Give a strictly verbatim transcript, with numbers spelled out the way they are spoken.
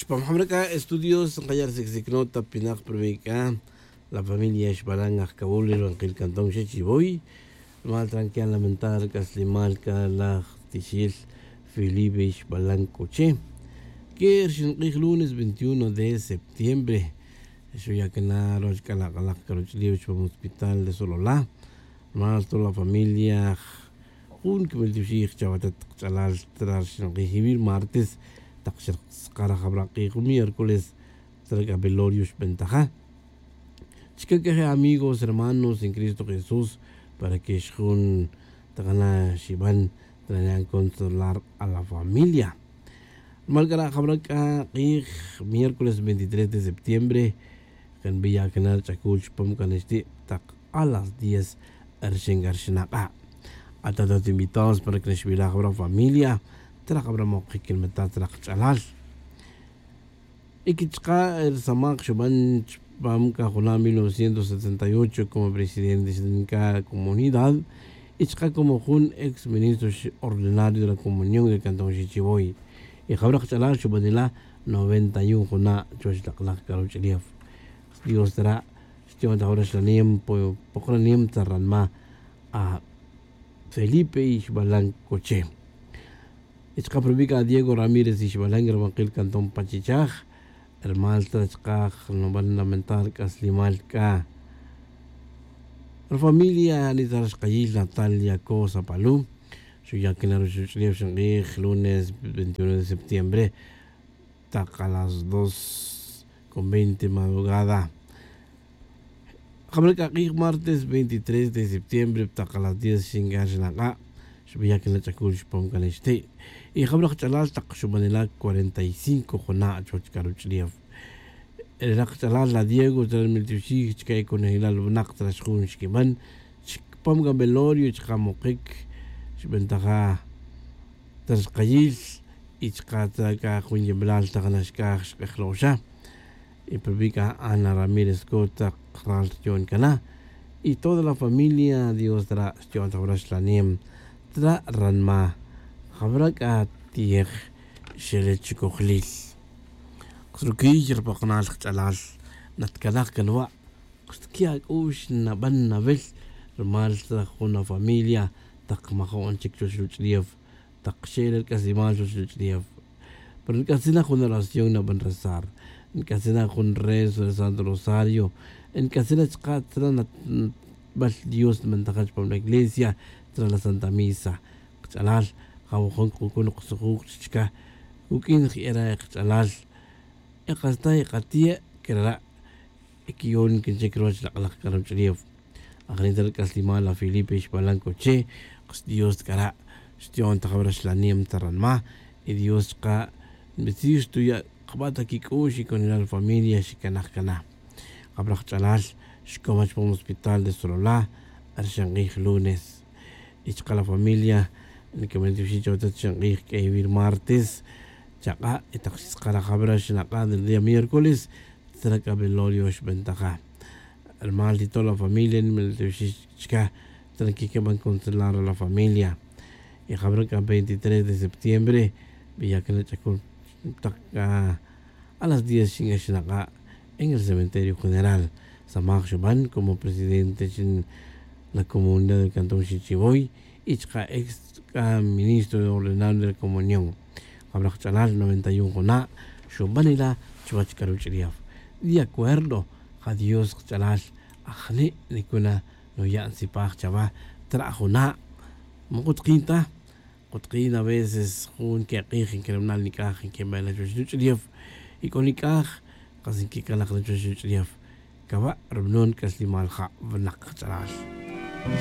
Pam jam re c'a estudios nkaya' rsicsic nota pinak prubi' c'a la familia xbalan ajcawul ri rubankil cantón xechivoy. Rumal tranquila lamentar c'aslimal c'a laj tixil felipe xbalan c'oche que rixin k'ij lunes veintiuno de septiembre. Xuya' cana ruwach c'a la k'alak c'a ruch'ulef chupam hospital de solola. Rumal to la familia jun quimil tiwxij chawatet kach'alal tra rixin k'ij ivir martes tak xrkaskaraj abra k'ij jun miércoles. Tra c'a velorio xbentaja chica c'a je amigos hermanos en cristo jesús para que xjun takana xiban. Tranan consolar a la familia. Rumal c'a ra' jabra c'a k'ij miércoles veintitrés de septiembre. Kan biya' cana ri ch'acul chupam c'a nixti' tak a las diez. Rixin c'a rixin ak'a' atatat invitados para que nixbilaj jabra familia. Tra jabra mokic nbeta tra kach'alal. Y que chaka' ri samaj xuban chupam c'a juna' mil novecientos setenta y ocho como presidente xnca comunidad y chaka' como jun ex ministro ordinario de la comunión de cantón xichivoy. Y jawra kach'alal xubanila noventa y un juna' chuwech lak'laj c'a ruch'ulef. Dios tara' xti'on ta jawra xlanem pokra nim ta ranma' a felipe y xbalan coche. Y chaka' pa rubi' c'a diego ramírez y xbalan rubankil cantón pachichaj. Rumal ta chaka' nuban lamentar c'aslimal c'a ri familia ni ta ri xkayil natalia cosa palu. Xuya' quina ruxuch'ulef xink'ij lunes veintiuno de septiembre tak a las dos con veinte madrugada. Jabra c'a k'ij martes veintitrés de septiembre tak a las diez xincan xinak'a' xbiya' quina ch'acul chupam c'a nixti'. Y jabra kach'alal tak xubanila cuarenta y cinco juna' chuwech c'a ruch'ulef. Ri rak kach'alal la diego chira' ri miltioxij chica' e conejilal winak chira' xjun xquiban chupam c'a velorio chaka' mokic. Xbentaja ta ri xkayil y chaka' ta c'a jun yemelal tak naxc'aj xk'ejlo'xa. Y pa rubi' c'a ana ramírez cota ral rti'on cana. Y toda la familia dios tara' xti'on ta jawra xlanem tara' ranma' jawra c'a ti'ej xele chicojlil. Kruquiy ri pokonal kach'alal natcanaj can wa' kxtqui' ac'u'x naban nawil rumal ta jun afamilia tak majo'n chic chuwech ruch'ulef. Tak xe'el ri c'aslimal chuwech ruch'ulef pero nic'atzin na jun oración naban rezar. Nic'atzin na jun rezo re santo rosario. Nic'atzin na chaka' tzra' nabal dios nbantaja chupam la iglesia tzra' la santa misa. Kach'alal jawojun kucun ksujuj chica' cuq'uin je'era' kach'alal. Y kasta y katiya' crara' y quiyon quinchic ruwach lak'laj c'a ruch'ulef. Ajni ta ri c'aslimal la felipe xbalan coche. Dios c'a ra' xti'on ta jawra xlanem ta ranma'. Y dios chaka' nbitzij xtuya' kaba' ta quic'u'x y conilal familia xicanaj cana. Jabra kach'alal xcoma chupam hospital de solola rixin k'ij lunes. Y chaka' la familia niquemen tiwxin chawatet rixin k'ij q'ueyawil martes. Chak'a' y tak xtzakara' jabra xinak'a' del día miércoles. Tzra' c'a velorio xbentaja rumal ti to la familia nimal tiwxin chica tzra' quiqueban consolar la familia. Y jabra c'a veintitrés de septiembre biya' cana ch'acul tak c'a a las diez xinak'a' en el cementerio general. Samaj xuban como presidente chin la comunidad del cantón xichivoy y chaka' ex c'a ministro ordenal de la comunión. Jabra kach'alal noventa y un juna' xubanila chuwech c'a ruch'ulef. De acuerdo ja dios kach'alal ajni' nicuna nuya' ntzipaj chawa. Tara' juna' ma kutkin ta. Kutkin aveces jun quek'ij nquerumanal nic'aj nquebena chuwech ruch'ulef. Y c'o nic'aj kas nquicalaj na chuwech ruch'ulef. Caba' rubanon c'aslimal ja winak kach'alal.